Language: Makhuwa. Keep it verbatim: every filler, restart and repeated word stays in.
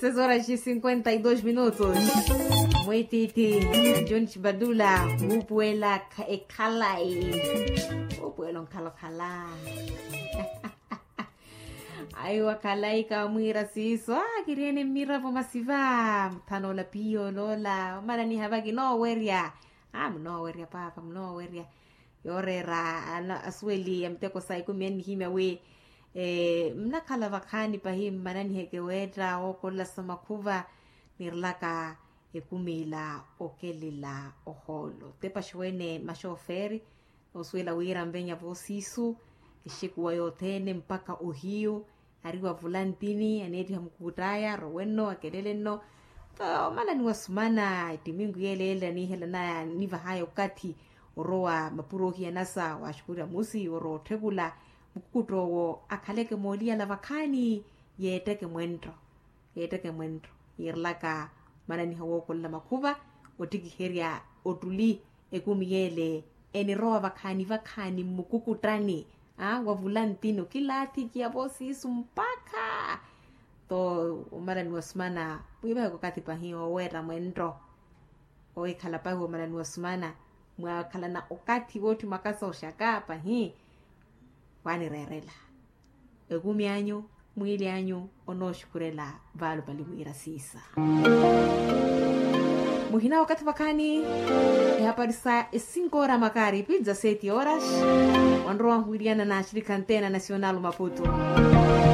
Seis horas e cinquenta e dois minutos. Mwititi, john chibadula, wuupuwela ekhalayi. Wuupuwela onkhalokhala. Ayi wakhalayi kamwiira siiso a kiriene mmiravo masiva. Muthano ola piyo oloola omananiha vaki noowerya. A munoowerya paapa munoowerya. Yooreera asuweli ya miteko sa ikumi annihimya wi, mnakhala vakhaani pahi mmananiheke weetta ookolola sa makhuva. Nirelaka ekumi ila okelela ohoolo tepaxi wene maxoofeeri. Noosuwela wira nvenya voosiisu exekuwa yothene mpakha ohiyu. Ari wavula ntini aneettiha mukuutt'aya arowe nno akelele nno. Omalaniwa sumana ettiminku yeeleela niihelana nivahaya okathi orowa mapuro ohiyanasa waxukurya musi orowa otthekula. Mukukutto owo akhaleke mooliyala vakhaani yeetteke mwenttho. Yeetteke mwenttho yiirelaka omananiha wookolola makhuva ottikiherya ottuli. Ekumi yeele enirowa vakhaani vakhaani mmukukuttani wavula ntini okilaathi kiya voosiisu mpakha. Tho omalaniwa sumana mwiivaheke okathi pahi oweetta mwenttho. Owikhala pahi omalaniwa sumana mwakhalana okathi wootthi mwakasa oxaka pahi. Waanireerela ekumi anyu mwiili anyu onooxukhurela vaalupali mwiira siisa. Muhina wakathi vakhaani ehapari sa esinkoora makaari pizza seti horas. Wanrowa nwiriyana naxirikha ntena nacional maputo.